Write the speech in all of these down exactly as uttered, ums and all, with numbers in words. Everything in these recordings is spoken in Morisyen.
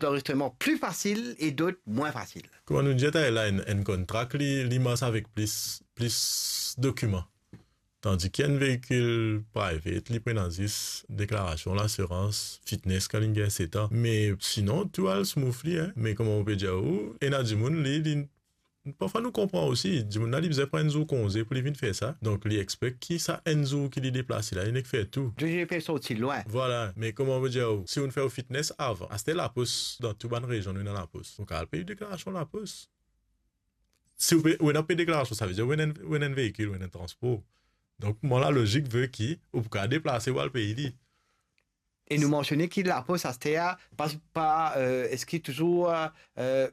d'anrezistreman pli fasil e dot mwin fasil. Kouma nou dir talè la, enn, enn contract, li, li mars avek plis, plis dokiman. Tandis ki enn veikil private, li pena zis deklarasion, lasirans, fitness kan li gagn set an. Me sinon, tou al smoothly, hein. Me kouma mo pe dir ou, ena dimoun, li, li, parfwa nou konpran osi, dimoun la, li bizin pran enn zour konze pou li vinn fer sa. Donk, li expect ki sa enn zour ki li deplase la, li nek fer tou. Donk, li pe sorti lwin. Vwala, me kouma mo dir ou, si ou fer ou fitness avan, aster lapos, dan tou bann rezion, nou ena lapos. Ou kapav pey deklarasion lapos. Si ou pe, ou ena pey deklarasion, savedir ou ena, ou ena enn veikil, ou ena enn transpor. Donk, mwa, lalozik ve ki ou pou kapav deplase, ou al pey li. E nou mansione ki lapos aster, pa, pa, euh, eski touzour, euh,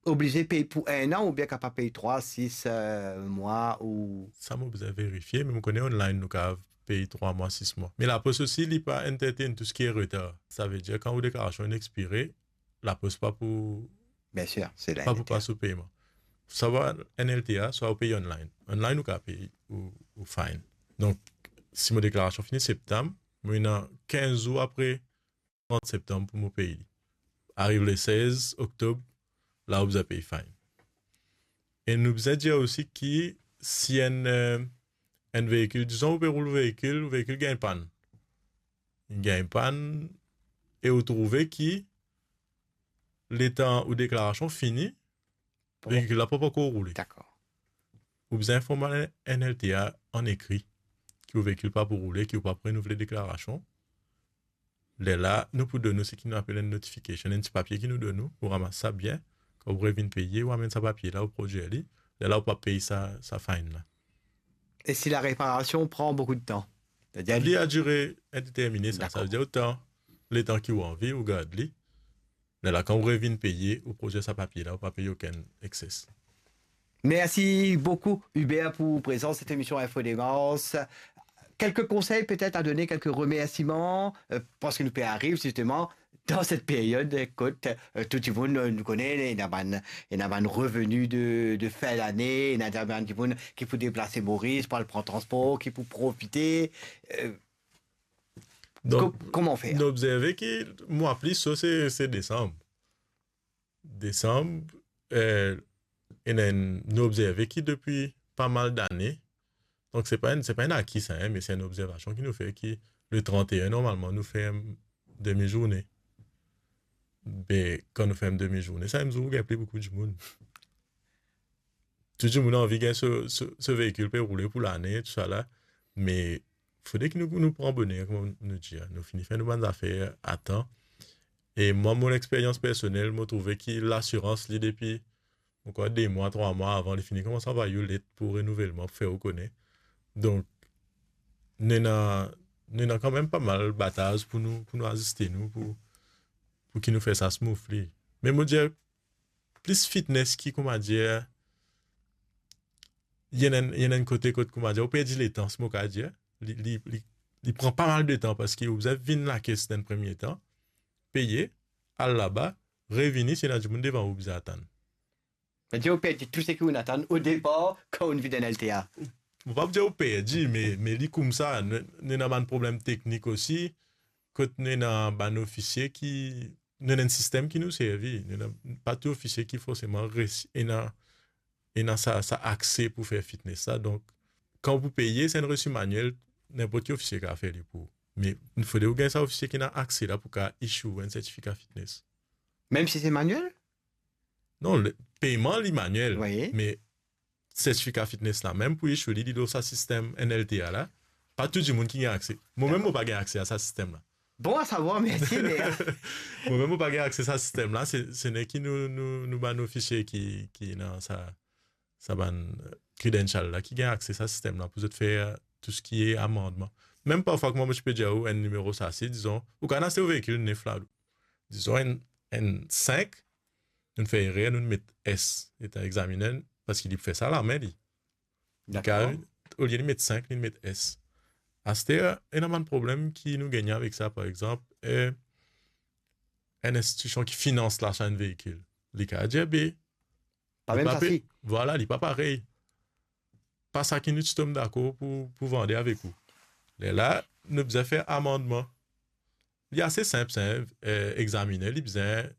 oblize pey pou enn an oubien kapav pey trwa, sis, euh, mwa ou... Sa mo bizin verifie, me mo kone online nou kapav pey trwa mwa, sis mwa. Me lapos osi, li pa entertain tou seki retar. Savedir, kan ou deklarasion inn expire, lapos pa pou... Biensir, se la, pa pou pas ou peyman. Swa N L T A, swa ou pey online. Online, ou kapav pey ou, ou fine. Donk, si mo deklarasion fini septam, mo ena kinz zour apre trant septam pou mo pey li. Ariv le sez oktob, la ou bizin pey fine. E nou bizin dir osi ki si enn, euh, enn veikil, dizon ou pe roul veikil, veikil gagn pann. Li gagn pann e ou trouve ki letan ou deklarasion fini, bon, veikil la pa, pa ankor roule. Dakor. Ou bizin inform N L T A an ekri ki ou veikil pa pou roule, ki ou pa pou renouvle deklarasion. Lerla, nou pou donn ou seki nou apel enn notification, enn ti papie ki nou donn ou, ou ramas sa bien. Kan ou revinn peye, ou amenn sa papie la, ou prodwir li. Lerla, ou pa pey sa, sa fine la. E si lareparasion pran boukou de tan? Li a dire indetermine, sa, sa ve dir otan, letan ki ou anvi, ou gard li. Lerla, kan ou revinn peye, ou prodwir sa papie la, ou pa pey okenn excess. Merci beaucoup, Hubert, pour présence cette émission Info Démence. Quelques conseils peut-être à donner, quelques remerciements, euh, parce que nou pe ariv justement dans cette période, kot, euh, tou dimoun, euh, nou kone, ena bann, ena bann revenu de, de fin d'année, ena bann dimoun ki pou deplase Moris, pou al pran transpor, ki pou profite. Euh, Donk, ko-, kouma fer? Nou obzerve ki mwa pli so, se, se desanm. Desanm, eh, ena enn, nou obzerve ki depi pa mal dane, donk se pa enn, se pa enn aki sa, hein, me se enn obzervasion ki nou fer ki le trant-e-enn, normalman, nou ferm demi-zourne. Be, kan nou ferm demi-zourne, samem zour ou gagn pli boukou dimoun. Tou dimoun anvi gagn so, so, so veikil pe roule pou lane, tousala. Me fode ki nou, nou pran boner, kouma nou dir, nou fini fer nou bann zafer a tan. E mwa, mo lexperyans personel, mo trouve ki lasirans, li depi, mo krwar, de mwa, trwa mwa avan, li fini koumans anvway ou let pou renouvelman, pou fer ou kone. Donk, nou ena, nou ena kanmem pa mal bataz pou nou, pou nou aziste nou, pou, pou ki nou fer sa smoothly. Me mo dir, plis fitness ki, kouma dir, ena enn, ena enn kote kot, kouma dir, ou perdi letan, si mo kapav dir. Li, li, li, li pran pa mal de tan, parski ou bizin vinn lakes dan premie tan, peye, al laba, revini, si ena dimoun devan ou bizin atann. Savedir ou perdi tou seki ou'nn atann o depar kan ou'nn vinn N L T A. Mo pa pou dir ou perdi, me, me li koumsa, nou, nou ena bann problem teknik osi, kot nou ena bann ofisie ki, nou ena enn sistem ki nou servi, nou ena, pa tou ofisie ki forseman resi, ena, ena sa, sa akse pou fer fitness la. Donk, kan ou pou peye, se enn resi manuel, ninport ki ofisie kapav fer li pou ou. Me fode ou gagn sa ofisie ki ena akse la pou kapav issue enn sertifika fitness. Mem si se manuel? Non, le, peyman li manuel, wi, me sertifika fitness la mem pou issue li, li lor sa sistem N L T A la, pa tou dimoun ki gagn akse. Mo mem, dakor, mo pa gagn akse a sa sistem la. Bon à savoir, merci, mais... Mo mem, mo pa gagn akse sa sistem la, se, se nek nou, nou, nou bann ofisie ki, ki ena sa, sa bann, euh, credential la, ki gagn akse sa sistem la pou zot fer tou seki amandman. Mem parfwa, kouma mo ti pe dir ou, enn nimero sasi, dizon, ou kapav aste ou veikil nef la, dizon enn, enn sink, nou'nn fer erer, nou'nn met S, letan examiner, parski li pou fer sa lame li. Li kapav, dakor, olie li met sink, li met S. Aster, ena bann problem ki nou gagne avek sa, par exanp, eh, enn institision ki finans lasa enn veikil, li kapav dir be, pa mem sasi. Vwala, li pa parey. Pa sa ki nou ti tom dakor pou, pou vande avek ou. Lerla, nou bizin fer amandman. Li ase sinp, sa, eh, examiner, li bizin